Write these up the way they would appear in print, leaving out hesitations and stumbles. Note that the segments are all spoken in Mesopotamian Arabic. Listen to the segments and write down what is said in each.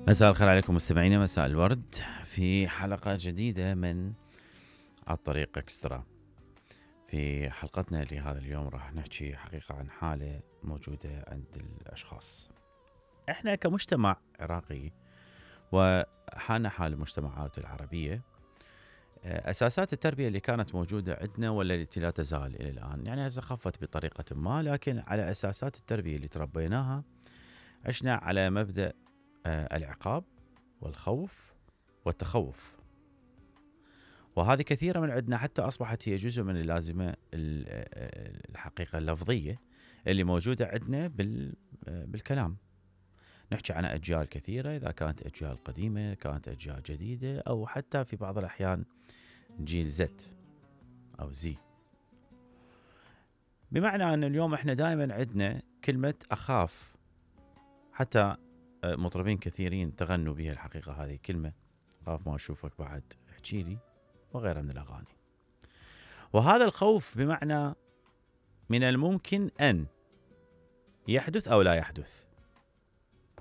مساء الخير عليكم مستمعينا، مساء الورد في حلقة جديدة من الطريق اكسترا. في حلقتنا لهذا اليوم راح نحكي حقيقة عن حالة موجودة عند الأشخاص. احنا كمجتمع عراقي وحالنا حال المجتمعات العربية، أساسات التربية اللي كانت موجودة عندنا ولا التي لا تزال إلى الآن، يعني هسه خفت بطريقة ما، لكن على أساسات التربية اللي تربيناها عشنا على مبدأ العقاب والخوف والتخوف، وهذه كثيرة من عندنا حتى أصبحت هي جزء من اللازمة الحقيقة اللفظية اللي موجودة عندنا بالكلام. نحكي عن أجيال كثيرة، إذا كانت أجيال قديمة كانت أجيال جديدة، أو حتى في بعض الأحيان جيل زد أو زي، بمعنى أن اليوم إحنا دائما عندنا كلمة أخاف. حتى مطربين كثيرين تغنوا بها الحقيقة هذه الكلمة، خاف ما أشوفك بعد احكي لي، وغيرها من الأغاني. وهذا الخوف بمعنى من الممكن أن يحدث أو لا يحدث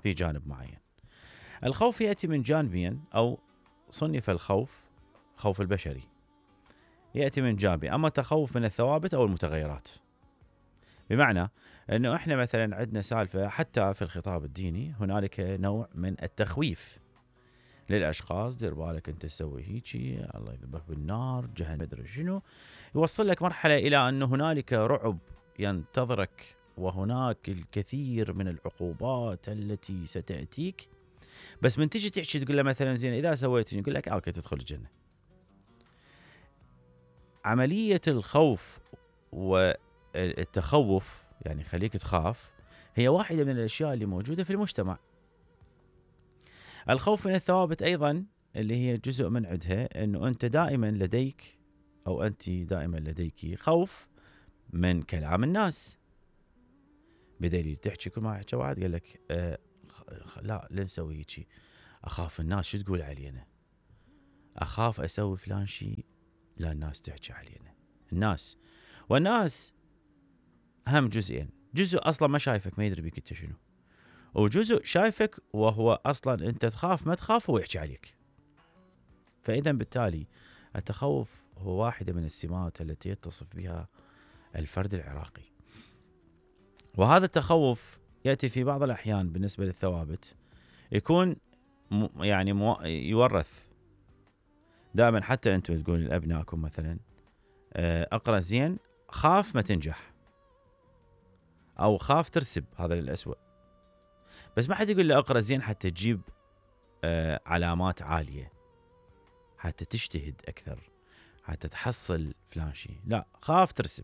في جانب معين. الخوف يأتي من جانبين، أو صنف الخوف خوف البشري يأتي من جانبين، أما التخوف من الثوابت أو المتغيرات. بمعنى أنه إحنا مثلا عندنا سالفة حتى في الخطاب الديني، هنالك نوع من التخويف للأشخاص، دير بالك أنت تسوي هيجي، الله يذبح بالنار، جهنم، مدري شنو، يوصل لك مرحلة إلى أنه هنالك رعب ينتظرك، وهناك الكثير من العقوبات التي ستأتيك، بس من تجي تحكي تقول له مثلا زين إذا سويت يقول لك أوكي تدخل الجنة. عملية الخوف والتخوف، يعني خليك تخاف، هي واحدة من الأشياء اللي موجودة في المجتمع. الخوف من الثوابت أيضا اللي هي جزء من عندها، أنه أنت دائما لديك أو أنت دائما لديك خوف من كلام الناس، بدليل تحكي كل ما حكى واحد قال لك لا نسوي هيك، أخاف الناس شو تقول علينا، أخاف أسوي فلان شيء لا الناس تحكي علينا. والناس هم جزئين، جزء أصلا ما شايفك ما يدري بك انت شنو، وجزء شايفك وهو أصلا أنت تخاف ما تخاف هو يحكي عليك. فإذا بالتالي التخوف هو واحدة من السمات التي يتصف بها الفرد العراقي. وهذا التخوف يأتي في بعض الأحيان بالنسبة للثوابت يكون يورث دائما. حتى أنتم تقول لأبنائكم مثلا أقرأ زين خاف ما تنجح، أو خاف ترسب، هذا للأسوأ. بس ما حد يقول له أقرأ زين حتى تجيب علامات عالية، حتى تجتهد أكثر، حتى تحصل فلان شيء، لا خاف ترسب.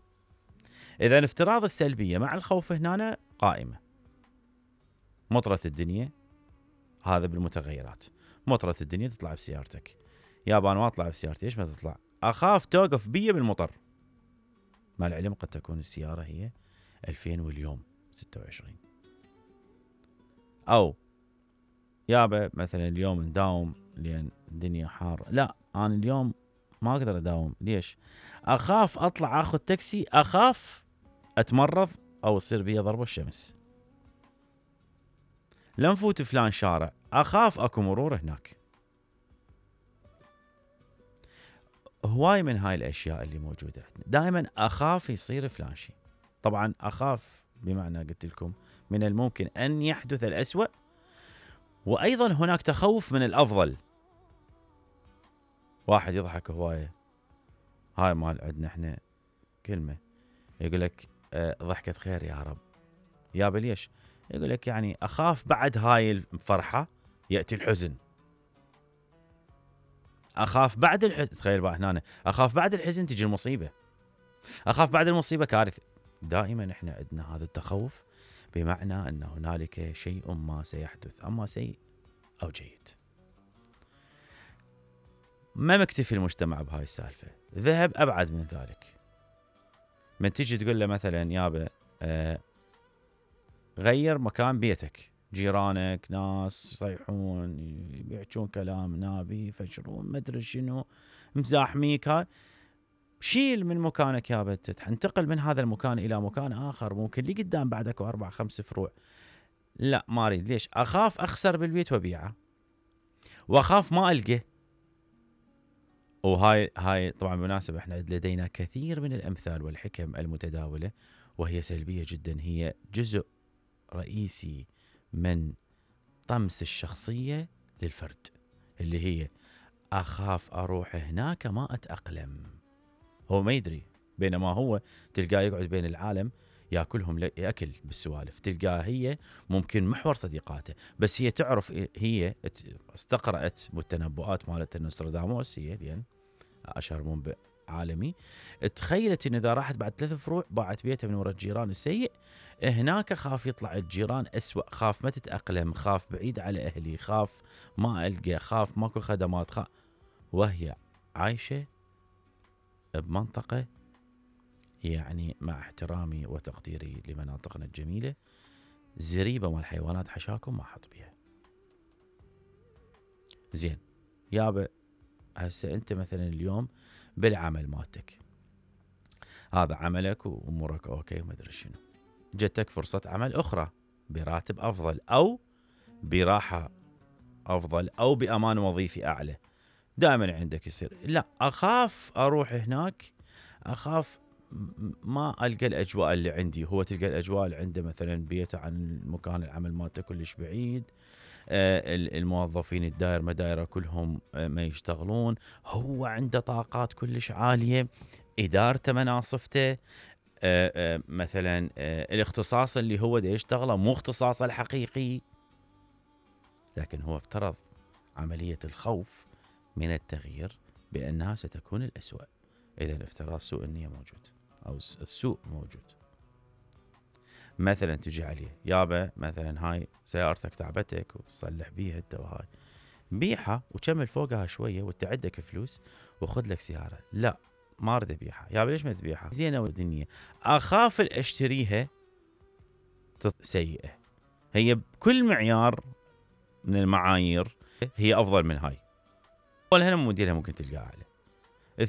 إذا افتراض السلبية مع الخوف هنا قائمة. مطرة الدنيا، هذا بالمتغيرات، مطرة الدنيا تطلع بسيارتك، يابان ما أطلع بسيارتي، إيش ما تطلع، أخاف توقف بي بالمطر، مع العلم قد تكون السيارة هي 2000 واليوم 26. أو يابا مثلا اليوم نداوم لأن الدنيا حار، لا أنا اليوم ما أقدر أداوم، ليش؟ أخاف أطلع أخذ تاكسي، أخاف أتمرض أو يصير بي ضربة الشمس، لن فوت فلان شارع، أخاف أكو مرور هناك. هواي من هاي الأشياء اللي موجودة دائما أخاف يصير فلان شيء. طبعا أخاف بمعنى قلت لكم من الممكن أن يحدث الأسوأ، وأيضا هناك تخوف من الأفضل. واحد يضحك هواية، هاي مال عندنا احنا كلمة يقول لك ضحكة خير يا رب، يابا ليش؟ يقول لك يعني أخاف بعد هاي الفرحة يأتي الحزن، أخاف بعد الحزن، تخيل بقى هنا، أخاف بعد الحزن تجي المصيبة، أخاف بعد المصيبة كارثة. دائما احنا عندنا هذا التخوف بمعنى أن هنالك شيء ما سيحدث، أما سيء أو جيد. ما مكتفي المجتمع بهاي السالفة، ذهب أبعد من ذلك. من تيجي تقول له مثلا يابا غير مكان بيتك، جيرانك ناس يصيحون يبيعون كلام نابي يفجرون مدري شنو مزاحميك، هاي شيل من مكانك يابا، تنتقل من هذا المكان إلى مكان آخر، ممكن لي قدام بعدك 4-5 فروع، لا ما أريد، ليش؟ أخاف أخسر بالبيت وبيعه. واخاف ما القى. وهاي طبعا بالمناسبة احنا لدينا كثير من الامثال والحكم المتداولة وهي سلبية جدا، هي جزء رئيسي من طمس الشخصية للفرد، اللي هي اخاف اروح هناك ما اتأقلم. هو ما يدري، بينما هو تلقاه يقعد بين العالم ياكلهم ياكل بالسوالف، تلقاه هي ممكن محور صديقاته، بس هي تعرف، هي استقرأت بالتنبؤات مالت نوستراداموس، هي لان اشهر منبئ عالمي، تخيلت ان اذا راحت بعد 3 فروع باعت بيتها من وراء الجيران السيء، هناك خاف يطلع الجيران اسوأ، خاف ما تتأقلم، خاف بعيد على اهلي، خاف ما القى، خاف ماكو خدمات، وهي عايشة بمنطقة، يعني مع احترامي وتقديري لمناطقنا الجميلة، زريبة مال الحيوانات حشاكم ما احط بيها. زين يابا، هسه انت مثلا اليوم بالعمل مالتك، هذا عملك وامورك اوكي وما ادري شنو، جتك فرصة عمل اخرى براتب افضل او براحة افضل او بامان وظيفي اعلى، دائما عندك يصير لا اخاف اروح هناك، اخاف ما القى الاجواء اللي عندي. هو تلقى الاجواء اللي عنده مثلا بيته عن مكان العمل مالته كلش بعيد، الموظفين الدائر مدايره كلهم ما يشتغلون، هو عنده طاقات كلش عاليه، ادارته مناصفته، مثلا الاختصاص اللي هو دا يشتغله مو اختصاصه الحقيقي، لكن هو افترض عمليه الخوف من التغيير بانها ستكون الاسوأ. اذا افتراض سوء النيه موجود او السوء موجود. مثلا تجي عليه يابا مثلا هاي سيارتك تعبتك وتصلح بيها انت وهاي، بيعها وكمل فوقها شويه وانت عندك فلوس وخذ لك سياره. لا ما اريد ابيعها. يابا ليش ما تبيعها؟ زينه والدنيا، اخاف اشتريها سيئه. هي بكل معيار من المعايير هي افضل من هاي، ولا هنا موديلها ممكن تلقاها عليه.